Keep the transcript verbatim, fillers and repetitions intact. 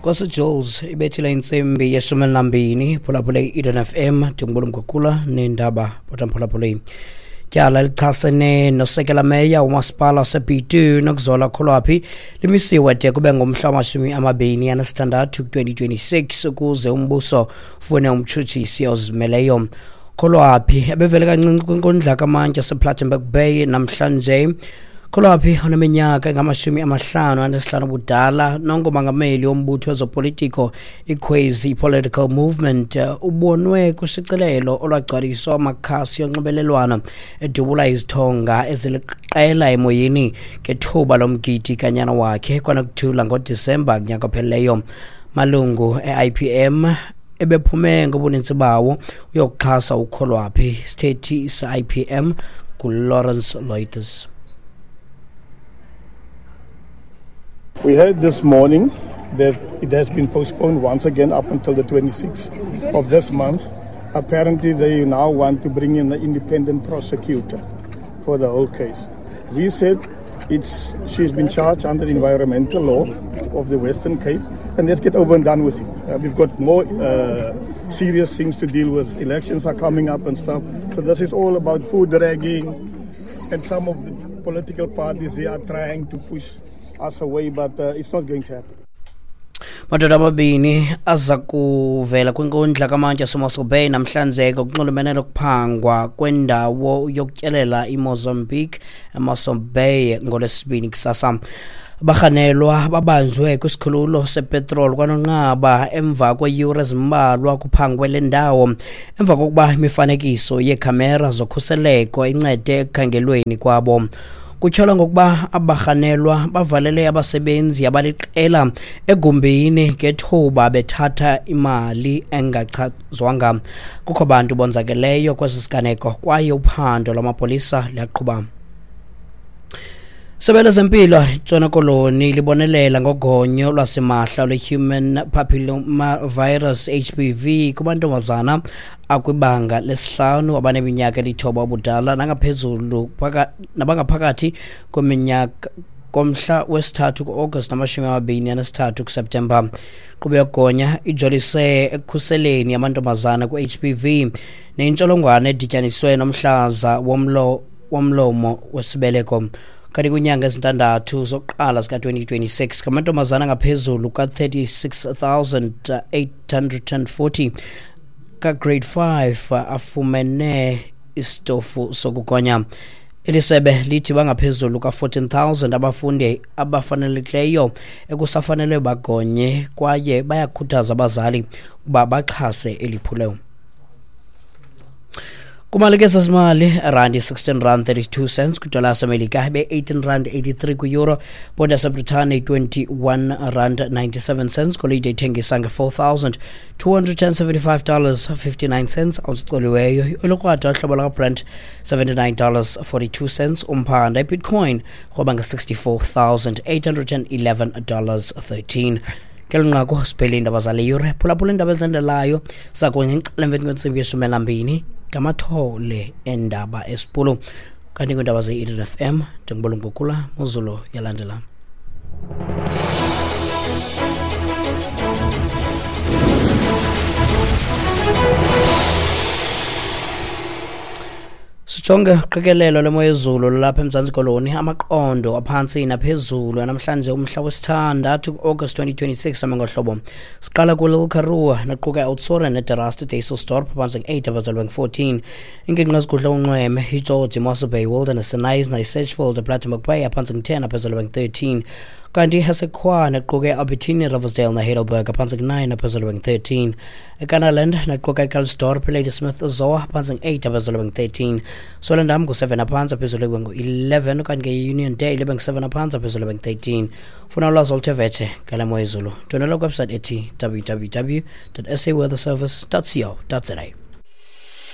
Nkosi Jules ibethile intsimbi yeshumi elinambini, phulaphule i-Eden F M, ndingubula Mgugula neendaba bothamphulaphule. Tyala lichasene nosekela meya umasipala wase-B two Nokuzola Kholwaphi limisiwe de kube ngomhla wamashumi amabini anesithandathu twenty twenty-six ukuze umbuso ufune umtshutshisi ozimeleyo. Kholwaphi ebevele kancinci kwinkundla kamantyi yasePlattenberg Bay namhlanje. Kholwaphi oneminyaka engamashumi amahlanu anesihlanu ubudala nongumongameli wombutho wezopolitiko iKhwezi Political Movement ubonwe kushicilelo olwagcwaliswa amakhasi onxibelelwano edubula izithonga eziliqela emoyeni ngethuba lomgidi kanyana wakhe kwanokuthula ngoDisemba kunyaka ophelileyo. Malungu e-I P M ebephume ngobuninzi bawo uyokuxhasa uKholwaphi. Isithethi se-I P M nguLawrence Loitis. We heard this morning that it has been postponed once again up until the twenty-sixth of this month. Apparently, they now want to bring in an independent prosecutor for the whole case. We said it's she's been charged under the environmental law of the Western Cape, and let's get over and done with it. Uh, we've got more uh, serious things to deal with. Elections are coming up and stuff. So this is all about food dragging, and some of the political parties here are trying to push us away, but uh, it's not going to happen. Madoda amabini aza kuvela kwinkundla kamantyi yaseMossel Bay namhlanje ngokunxulumene nokuphangwa kwendawo yokutyelela iMozambique eMossel Bay ngoLwesibini kusasa. Abarhanelwa babanjwe kwisikhululo sepetroli kwaNonqaba emva kweeyure ezimbalwa kuphangwe le ndawo, emva kokuba imifanekiso yeekhamera zokhuseleko incede ekukhangelweni kwabo. Kutyholwa ngokuba abarhanelwa bavalele abasebenzi abaliqela egumbini ngethuba bethatha imali engachazwanga. Kukho bantu bonzakeleyo kwesi siganeko kwaye uphando lwamapolisa luyaqhuba. Isebe lezempilo eNtshona Koloni libonelela ngogonyo lwasimahla lwe-Human Papillomavirus H P V kumantombazana akwibanga lesihlanu abaneminyaka elithoba ubudala nangaphezulu nabangaphakathi kweminyaka komhla wesithathu ku-August namashumi amabini anesithathu kuSeptemba. Inkqubo yokugonya ijolise ekukhuseleni amantombazana ku-H P V nentsholongwane edityaniswe nomhlaza womlo womlomo wesibeleko. Kanti kwiinyanga ezintandathu zokuqala zika twenty twenty-six ngamantombazana angaphezulu ka-thirty-six thousand eight hundred and forty ka-grade five afumene isitofu sokugonya. Eli sebe lithi bangaphezulu ka-fourteen thousand abafundi abafanelekileyo ekusafanele bagonye kwaye bayakhuthaza abazali ukuba baxhase eli phulo. Kumalike sesimali randi sixteen rand thirty-two cents kwidola yaseMelika ibe eighteen rand eighty-three kwi-euro, ponda yaseBritane twenty-one rand ninety-seven cents, golide ithengisa nge-four thousand two hundred and seventy-five dollars fifty-nine cents awuzicoliweyo. Olukrwada uhlobo lwakaBrent seventy-nine dollars forty-two cents, umphanda iBitcoin rhoba nge-sixty-four thousand eight hundred and eleven dollars thirteen. Ngelo nqaku siphele iindaba zale yure. Phulaphula iindaba ezilandelayo zakunye ngexela emveni kwentsimbi yeshumi elambini ngamathole endaba esipulu. Kanti kwiindaba ze-Eden F M ndingubula Mgugula, Muzulu yalandela. Sijonge uqikelelo lwemo yezulu lwalapha eMzantsi Koloni, amaqondo aphantsi naphezulu namhlanje umhla wesithandathu ku-August twenty twenty-six ame ngohlobo. Siqala kuLittle Karoo naquka iOudtshoorn neDerasti Dysselsdorp phantsi nge-eight abazelwe nge-fourteen. Ingingqi ezigudla unxweme iGeorge, iMossel Bay, Wilderness, iKnysna, iSedgefield, iPlattenberg Bay aphantsi nge-ten abazelwe nge-thirteen. Kanti iHessequa naquka iAlbertina, Riversdale neHeidelberg aphantsi nge-nine abazelwe nge-thirteen. EKanaland naquka iCalsdorp, iLadysmith, Zoar aphantsi nge-eight abazelwe nge-thirteen. Swellendam ngu-seven aphantsi aphezulu ibe ngu-eleven, kanti ke i-Union Dale ibe ngu-seven aphantsi aphezulu ibe ngu-thirteen. Funa ulwazi oluthe vetshe ngale mo yezulu, ndwendwela kwiwebsite ethi w w w dot s a weather service dot co dot za.